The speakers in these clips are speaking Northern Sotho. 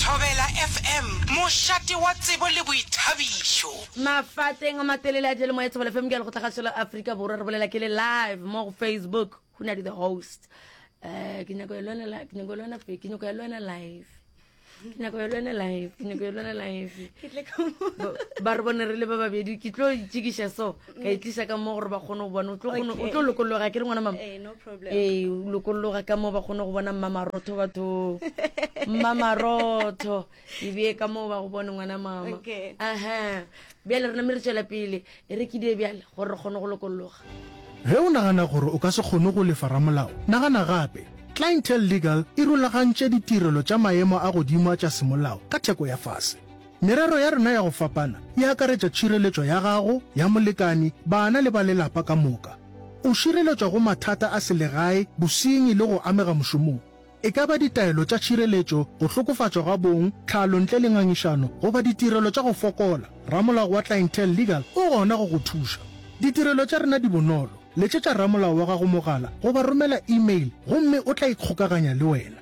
Thobela FM, mošate wa tsebo le boithabišo. Mafateng a matelele a diyalemoya Thobela FM ke ya lekgotlakgašo la Afrika Borwa re bolela ke le live mo go Facebook Hunadi the host. Eh ke nyako ya lwana ke nyako ya lwana ke nyako ya lwana live. Ke nyako ya lwana live ke nyako ya lwana live. Ke tle ka mo. Ba re bone re le ba babedi ke tlo itšikiša so ka itliša ka mo gore ba kgone go bona o tlo kgone o tlo lokologa ke re ngwana mama. Eh no problem. Ee o lokologa ka mo ba kgone go bona mmamarotho batho mmamarotho e bee ka moo ba go bone ngwana mama. Okay. Aha bjale re name re tšwela pele e re ke die bjale gore re kgone go lokologa. Ge o nagana gore o ka se kgone go lefa ramolao, nagana gape. Clientele Legal e rulagantše ditirelo tša maemo a godimo a tša semolao ka theko ya fase. Merero ya rena ya go fapana e akaretša tšhireletšo ya gago, ya molekani, bana le ba lelapa ka moka. O šireletšwa go mathata a selegae, bosenyi le go amega mošomong. E ka ba ditaelo tša tšhireletšo, go hlokofatšwa ga bong, tlhalo ntle le ngangišano, goba ditirelo tša go fokola, ramolao wa Clientele Legal o gona go go thuša. Ditirelo tša rena di bonolo. Letšetša ramolao wa gago mogala goba romela e-mail gomme o tla ikgokaganya le wena.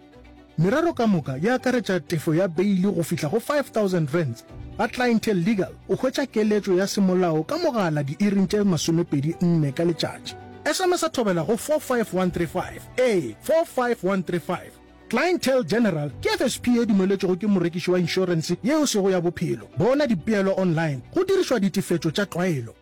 Merero ka moka e akaretša tefo ya beili go fihla go R5000. Ga Clientele Legal o hwetša keletšo ya semolao ka mogala diiring tše 24 ka letšatši. SMS-a thobela go 45135. Ee, 45135. Clientele General ke FSP ye dumeletšwego ke morekiši wa inšorense ye e sego ya bophelo. Bona dipeelo online go dirišwa ditefetšo tša tlwaelo.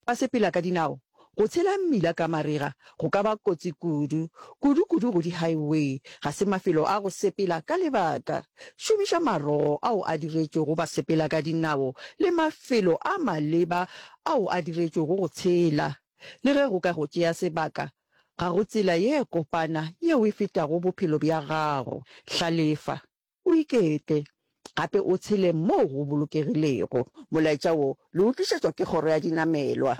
Ba sepela ka dinao. Go tshela mmila ka marega go ka ba kotsi kudu, kudu-kudu go di-highway. Ga se mafelo a go sepela ka lebaka. Šomiša marogo ao a diretšwego basepela ka dinao le mafelo a maleba ao a diretšwego go tshela. Le ge go ka go tšea sebaka, ga go tsela ye kopana yeo e fetago bophelo bja gago. Hlalefa. O iketle, gape o tshele moo go bolokegilego. Molaetša wo le o tlišetšwa ke Kgoro ya Dinamelwa.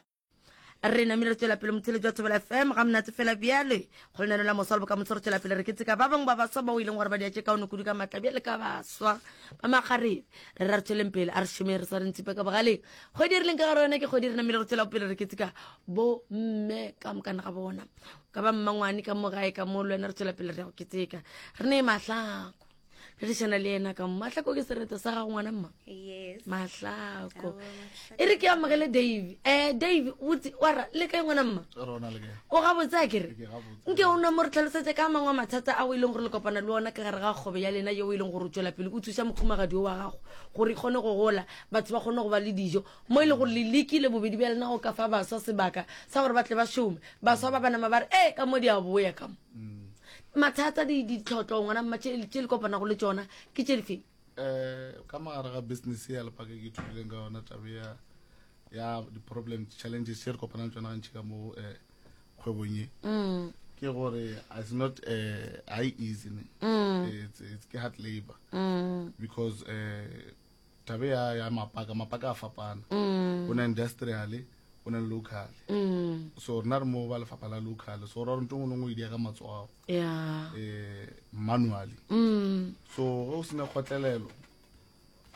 Re namile re tšwela pele motheletši wa Thobela FM ga monate fela bjale go lenaneo la moswa le bokamoso re tšwela pele re keteka ba bangwe ba baswa bao e leng gore ba dia tše kaone kudu ka matla bjale ka baswa ba makgarebe re ra re tšweleng pele a re šomeng re swareng tshipe ka bogaleng kgwedi e re leng ka gare yona ke kgwedi re namile re tšwela pele re keteka bo mme ka mokana ga bona ka ba mmangwane ka mo gae ka mo le wena re tswela pele re ya go keteka re ne mahlako re dišana le yena ka mo mahlako ke sereto sa gago ngwana mma Yes. mahlako Aowa, Mahlako. e re ke amogele dave um dave botse wara le kae ngwana mma Rona le kae? o gabotse a kere Ke gabotse. nke o na mo re tlhalosetse ka mangwe a mathata a o e leng gore le kopana le ona ka gare ga kgobe ya lena yeo e leng gore o tswela pele o thuša mokhumagadi o wa gago gore e kgone go gola batho ba kgone go ba le dijo mo e leng gore le lekile bobedi bja lena go ka fa baswa sebaka sa gore ba tle ba šome baswa ba ba nama ba re ee ka mo di a boya ka mo mm. mathata ditlhotlo ngwana mma tše le kopanago le tsona ke tše difeng um ka mogare ga business ya lepaka ke ithutileng ka yona tabe ya ya di-problem challenges tše re kopanang tsona gantši ka mo um kgwebong ye mm. ke gore it's not uh, high easy ne mm. it's, it's ke hard labor mm. because uh, Tabe ya ya mapaka mapaka a fapana mm. go na industrial go na local mm. so rena re mo ba lefapha la local so ra ntho ngwe le ngwe e dia ka matsogo yeah. eh manually mm. so ge o sena kgotlelelo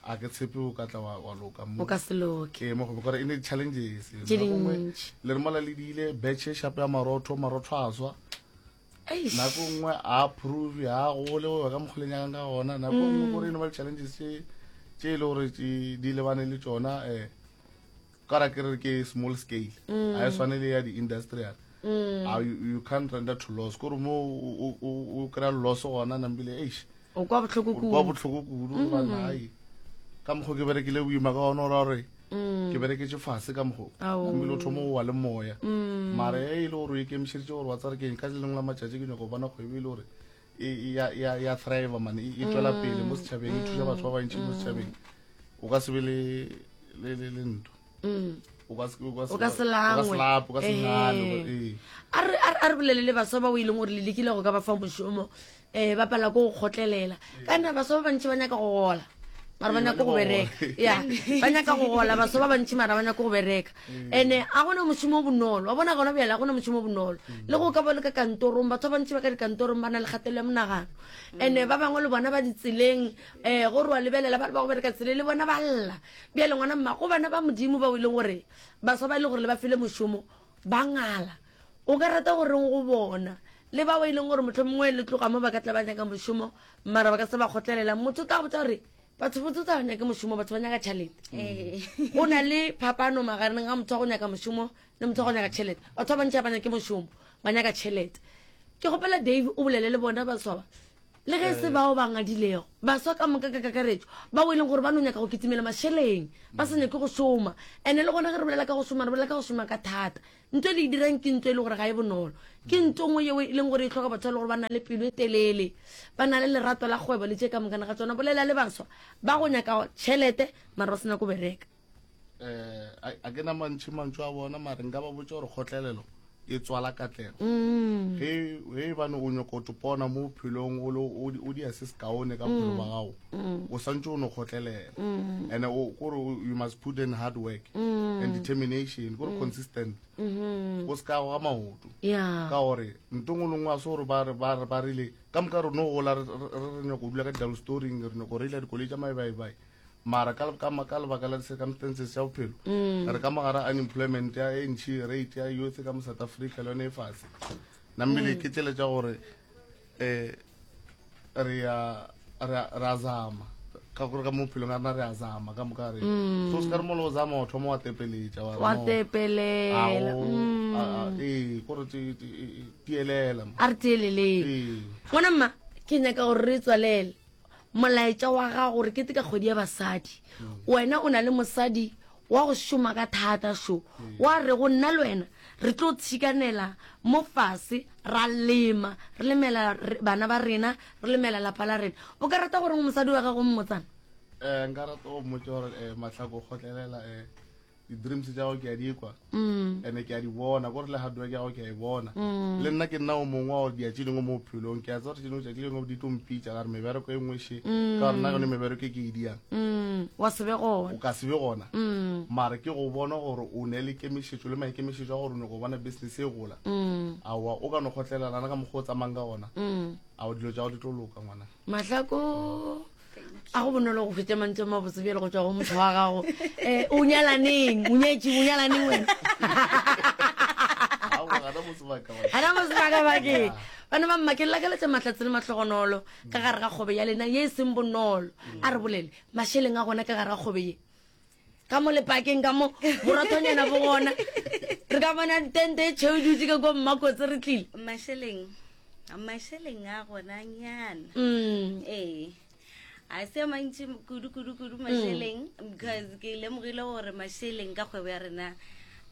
a ke tshepe o ka tla wa, wa loka mo o ka se loke ee mo go gore e ne di-challenges Tše dintši. le re mola le diile betšhe shapo ya marotho marotho a swa nako nngwe a approve a gole go ya ka mokgoleng ya ka gona nako nngwe mm. gore e no ba di-challenges tše tše e le gore di lebane le tsona um eh, ka ra ke re ke small scale mm. a e swane le ya di-industrial mm. you, you can't render to loss kore mo o kry-a loss gona nambile eish o kwa bohloko kudu kwa bohloko kudu mm. gobane ai ka mokgwa ke berekile boima ka ona ora gore mm. ke bereketse fase ka mokgwa ebile o thoma go wa le moya mm. mara e e le gore o ikemišeditse gore wa tsare keng ka le lengwe la matšatši ke nyako bona kgwebo e le gore e, e, ya thrive mane e, e tswela pele mo setšhabeng e thuša batho ba bantši mo setšhabeng o ka se be le ntho o ka se langwe a re bolele le baswa ba o e leng gore le lekile go ka ba fa mošomo um ba palelwa ke go kgotlelela ka nna baswa ba bantši ba nyaka go gola mara ba nyaka go bereka ya ba nyaka go gola baswa ba bantši mara ba nyaka go bereka and-e a gona mošomo o bonolo wa bona gona bjale a gona mošomo o bonolo le go ka ba le ka kantorong batho ba bantši ba ka dikantorong ba na le kgatelelo ya monagano and-e ba bangwe le bona ba ditseleng um go re wa lebelela ba le ba go bereka tseleng le bona ba lla bjale ngwana mma go bana ba modimo bao e leng gore baswa ba e leng gore le ba file mošomo ba ngala o ka rata goreng go bona? Le bao e leng gore mohlomongwe le tloga mo ba ka tla ba nyaka mošomo mara ba ka se ba kgotlelela. Motho o tla go botsa gore batho botse o tla ba nyake mošomo, batho ba nyaka tšhelete. Go na le phapano magareng ga motho wa go nyaka mošomo le motho wa go nyaka tšhelete. Batho ba bantši ga ba nyake mošomo, ba nyaka tšhelete. Ke kgopela Dave o bolele le bona baswa ba. Le ge e se bao ba ngadilego, baswa ka moka ka kakaretšo, bao e leng gore ba no nyaka go kitimela mašeleng, ba sa nyake go šoma. Ene le gona ge re bolela ka go šoma, re bolela ka go šoma ka thata. Nto e le e dirang ke nto e le gore ga e bonolo. Ke nto nngwe yeo e leng gore e hloka batho ba e le gore ba na le pelo e telele, ba na le lerato la kgwebo le tše ka mokana ga tsona. Bolela le baswa ba go nyaka tšhelete mara ba se nyake go bereka. Eh, a ke na mantši mantšu a bona mare nka ba botša gore kgotlelelo e tswala katlego. Mm. Ge ge e bane o nyoko topona mo bophelong o le o dia se sekaone ka bophelo ba gago, Mm. o santse o no kgotlelela. Mm. And o kore you must put in hard work and determination, kore consistent. Mm-hmm. O se ka goga maoto. Yeah. Ka gore nto ngwe le nngwe a se gore ba re ba re ba rile ka moka re no gola re re nyako dula ka di-double storing re nyako reila dikoloi tša maebaibai mara ka ka ka lebaka la di-circumstances tša bophelo mm. re ka mogara unemployment ya e ntšhi rate ya youth ka mo south africa le yone e fase namile mm. ke tsele tša gore um re ya re a zama ka gore ka mo bophelong a rena re a zama ka moka re mm. so se ka re molo o zama o thoma wa tepeletša wa tepelela ee kore tielela a re tieleleng ngwana mma ke nyaka gore re tswalele Molaetša wa gago gore ke ka kgwedi ya basadi. Wena o na le mosadi wa go šoma ka thata šo, wa re go nna le wena re tlo tshikanela mo fase ra lema, re lemela bana ba rena, re lemela lapa la rena. O ka rata gore mosadi wa gago mmotsana? Eh, nka rata go mmotša gore eh, Mahlako kgotlelela eh, di-dreams tša gago ke a di kwa mm. and ke a di bona kore le hard work ya gago ke a e bona mm. le nna ke nna o mongwe wa dia tše dingwe mo bophelong ke a tseba gore tše dingwe tšatši lengwe di tlo mpitša ka re mebereko e nngwe še mm. ka gore nna yone mebereko e ke e diang wa se be gona o ka se be gona mare ke go bona gore o ne le kemišetšo le maikemišetšo a gore o nyako bona business e gola aowa o ka no kgotlelelana ka mokgwa o tsamayng ka gona ao dilo tša go di tlo loka ngwana Mahlako a go bonolo go fetša mantšu a mabotse bjale go tšwa go motho wa gago um o nyalaneng o nyetše o nyalaneng wena gana mo sebakabakeng bana ba mma ke lakaletša mahlatse le mahlogonolo ka gare ga kgobe ya lena ye e seng bonolo a re bolele mašeleng a gona ka gare ga kgobe ye ka mo lepakeng ka mo borothonyana bo gona re ka bona tente e tšheu dutse ka ko mmakotse re tlile mašeleng mašeleng a gona nyana mm. ee a se a mantši kudu kudu kudu mašeleng because ke lemogile gore mašeleng ka kgwebo ya rena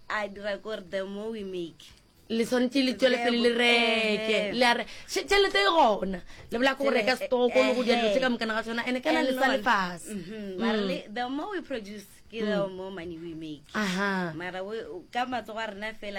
a dira kore the more we make le swanetše le tšwele pele le reke le a re tšhelete e gona le bola ko go reka stoko le go dira dilo tše ka mokana ga tsona ene kana le sa lefase mhm. mara mm. the more we produce ke the mm. more money we make aha mara ka matsogo a rena fela.